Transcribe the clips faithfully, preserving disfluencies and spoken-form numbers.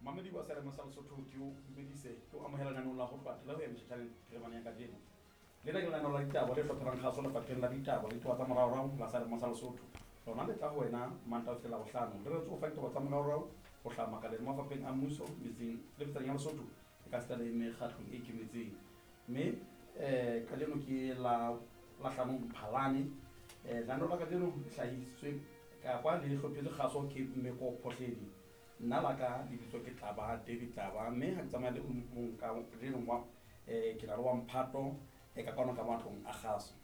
Mamedi wa Selemo sa Lesotho, ke o dumedise, ke o amohela lenaneong la ho tloha ho ya metjhatjhaneng phirimana ya kajeno. Lena ke lenaneo la ditaba le hlophelang kgaso lefapheng la ditaba le ditaba tsa moraorao la Selemo sa Lesotho. Lona le tla ho wena Mantaha ho fihlela Labohlano. Le retse ho fa ditaba tsa moraorao ho hlaha makaleng mafapheng a mmuso, metseng le metsaneng ya Lesotho e ka sita le mekgatlong e ikemetseng. Mme um kajeno ke la Lahlano Mphalane. um Lenaneo la kajeno le hlahisitswe kapa le hlophetswe kgaso ke Mmeko Phohledi. Nna la ka lebitso ke Tlaba David Tlaba, mme ha ke tsamaya le mong ka kajeno wa um ke na le wa mphato e ka kwano ka matlong a kgaso.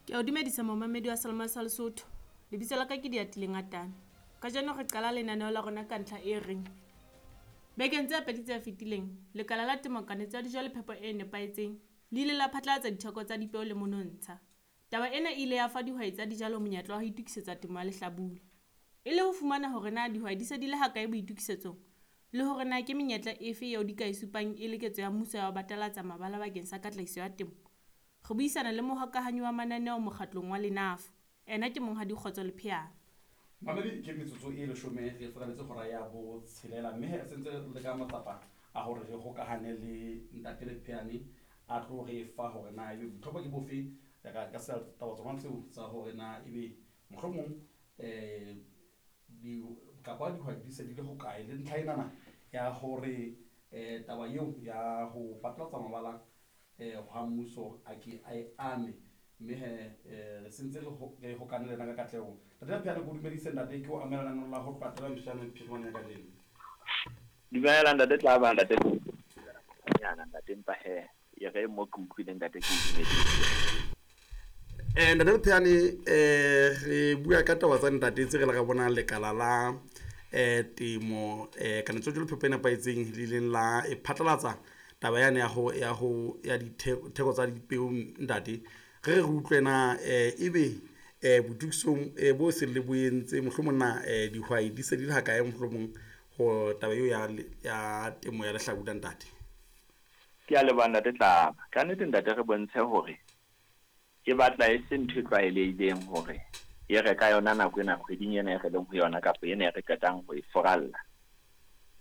Ke a o dumedisa momamedi wa Selemo sa Lesotho. Lebitso la ka ke Diatile Ngatane. Kajeno re qala lenaneo la rona ka ntlha e reng bekeng tse pedi tse fetileng, lekala la temo, kanetso ya dijo le phepo e nepahetseng le ile la phatlalatsa ditheko tsa dipeo le monontsha. Taba ena e ile ya fa dihwai tsa dijalo monyetla wa ho itokisetsa temo ya lehlabula. E le ho fumana hore na dihwai di se di le hakae boitokisetsong le hore na ke menyetla efe eo di ka e supang e le ketso ya mmuso ya ho batalatsa mabala bakeng sa katlehiso ya temo, re buisana le mohokahanyi wa mananeo mokgatlong wa Lenafo. Ena ke Monghadi Kgotso Lepheana. Mamedi, ke metsotso e leshome re furaletse hora ya botshelela, mme re sentse re leka matsapa a hore re hokahane le ntate Lepheane a tlo re fa hore na ebe botlhokwa ke bofe ka ka taba tsona tseo tsa hore na ebe mohlomong um kapa dihwai di se di le hokae le ntlha enana ya hore um taba eo ya ho phatlalatsa mabala um ha mmuso a ke a e ame. Mme he um re sentse re hokane le ena ka katleho. Ntate Lepheane, ke o dumedise ntate, ke o amohela lenaneong la ho tloha metjhatjhaneng phirimana ya kajeno. Dumela ntate Tlaba, ntate nyana ntate, empa he e re mo ke utlwile ntate, ke o dumedise. um Ntate Lepheane, um re bua ka taba tsa ntate tse re le re bonang lekala la um temo um kanetso le phepo e nepahetseng le ileng la e phatlalatsa taba yane ya ho ya ho ya ditheko tsa dipeo. Ntate, re re utlwe na um ebe um boitokisong um bo seng le bo entse, mohlomong na um dihwai di se di le hakae mohlomong ho taba eo ya ya temo ya lehlabula, ntate? Ke a leboha ntate Tlaba. Ka nnete ntate, re bontshe hore e batla e se ntho e tlwaelehileng hore e re ka yona nako ena kgweding ena e re leng ho yona kapa ena e re qetang ho e furalla,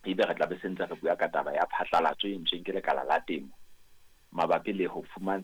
ebe re tla be se ntse re bua ka taba ya phatlalatso e entsweng ke lekala la temo mabapi le ho fumantsha